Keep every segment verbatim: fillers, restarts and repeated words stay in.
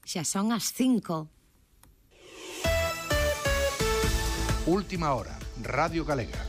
Xa son as cinco. Última hora, Radio Galega.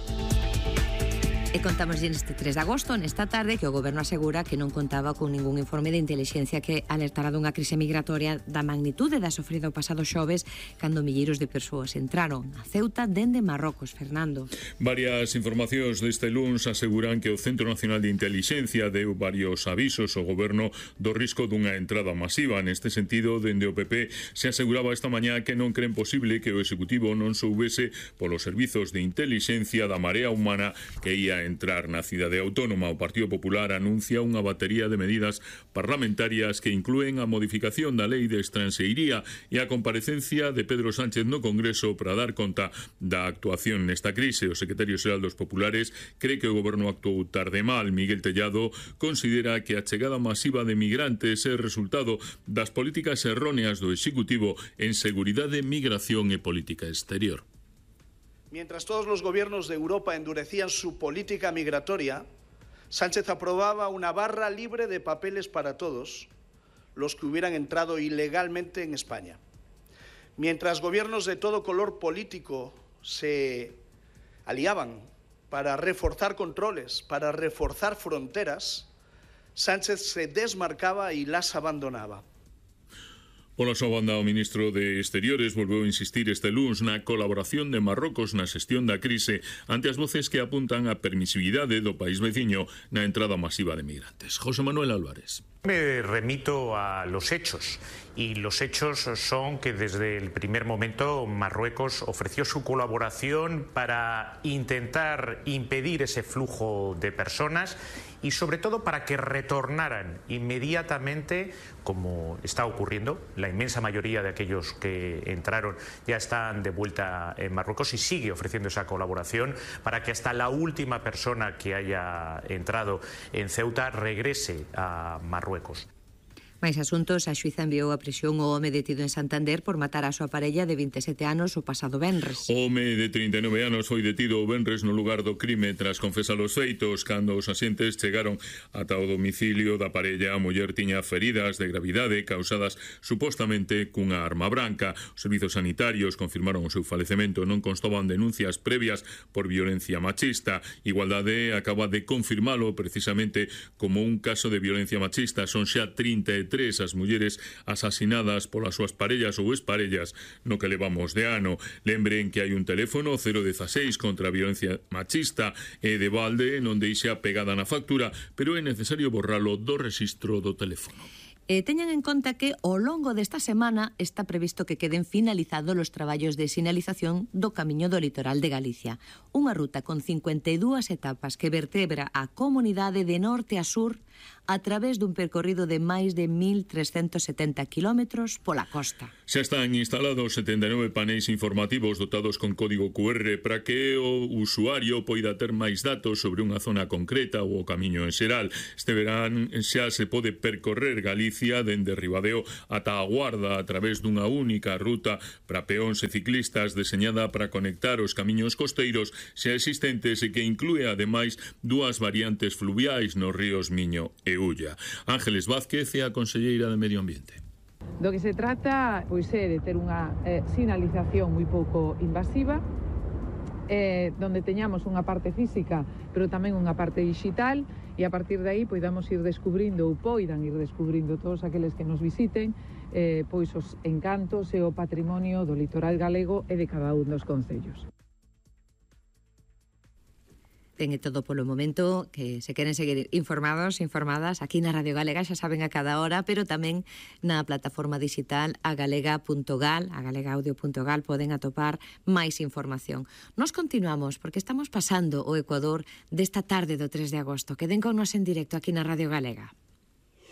E contamos neste tres de agosto, nesta tarde, que o Goberno asegura que non contaba con ningún informe de intelixencia que alertara dunha crise migratoria da magnitude da sofrida o pasado xoves cando milleiros de persoas entraron a Ceuta dende Marrocos. Fernando. Varias informacións deste luns aseguran que o Centro Nacional de Intelixencia deu varios avisos ao Goberno do risco dunha entrada masiva. Neste sentido, dende o P P se aseguraba esta mañá que non creen posible que o Executivo non soubese polos servizos de intelixencia da marea humana que ia entrar na cidade autónoma. O Partido Popular anuncia unha batería de medidas parlamentarias que inclúen a modificación da lei de estranxeiría e a comparecencia de Pedro Sánchez no Congreso para dar conta da actuación nesta crise. O secretario xeral dos Populares cree que o Goberno actuou tarde mal. Miguel Tellado considera que a chegada masiva de migrantes é resultado das políticas erróneas do Executivo en seguridade, migración e política exterior. Mientras todos los gobiernos de Europa endurecían su política migratoria, Sánchez aprobaba una barra libre de papeles para todos los que hubieran entrado ilegalmente en España. Mientras gobiernos de todo color político se aliaban para reforzar controles, para reforzar fronteras, Sánchez se desmarcaba y las abandonaba. Pola súa banda, o ministro de Exteriores volveu a insistir este luns na colaboración de Marrocos na xestión da crise ante as voces que apuntan a permisividade do país veciño na entrada masiva de migrantes. José Manuel Álvarez. Me remito a los hechos y los hechos son que desde el primer momento Marruecos ofreció su colaboración para intentar impedir ese flujo de personas y sobre todo para que retornaran inmediatamente, como está ocurriendo. La inmensa mayoría de aquellos que entraron ya están de vuelta en Marruecos y sigue ofreciendo esa colaboración para que hasta la última persona que haya entrado en Ceuta regrese a Marruecos. Mais asuntos, a xuíza enviou a prisión o home detido en Santander por matar a súa parella de vinte e sete anos o pasado venres. O home de trinta e nove anos foi detido o venres no lugar do crime tras confesar os feitos. Cando os axentes chegaron ata o domicilio da parella, a muller tiña feridas de gravidade causadas supostamente cunha arma branca. Os servizos sanitarios confirmaron o seu falecemento. Non constaban denuncias previas por violencia machista. Igualdade acaba de confirmalo precisamente como un caso de violencia machista. Son xa trinta e tres as mulleres asasinadas polas súas parellas ou exparellas no que levamos de ano. Lembren que hai un teléfono cero dieciséis contra a violencia machista e de balde non deixa pegada na factura, pero é necesario borralo do rexistro do teléfono. E teñan en conta que ao longo desta semana está previsto que queden finalizados os traballos de sinalización do Camiño do Litoral de Galicia, unha ruta con cincuenta e dúas etapas que vertebra a comunidade de norte a sur a través dun percorrido de máis de mil trescentos setenta kilómetros pola costa. Xa están instalados setenta e nove paneis informativos dotados con código cu erre para que o usuario poida ter máis datos sobre unha zona concreta ou o camiño en xeral. Este verán xa se pode percorrer Galicia dende Ribadeo ata a Guarda a través dunha única ruta para peóns e ciclistas deseñada para conectar os camiños costeiros xa existentes e que inclúe ademais dúas variantes fluviais nos ríos Miño e Ulla. Ángeles Vázquez é a conselleira de Medio Ambiente. Do que se trata pois é de ter unha eh, sinalización moi pouco invasiva, eh, donde teñamos unha parte física, pero tamén unha parte digital, e a partir de aí poidamos ir descubrindo ou poidan ir descubrindo todos aqueles que nos visiten eh, pois os encantos e o patrimonio do litoral galego e de cada un dos concellos. Ten e todo polo momento, que se queren seguir informados, informadas, aquí na Radio Galega, xa saben a cada hora, pero tamén na plataforma digital agalega punto gal, agalegaudio punto gal, poden atopar máis información. Nos continuamos, porque estamos pasando o Ecuador desta tarde do tres de agosto. Queden con nos en directo aquí na Radio Galega.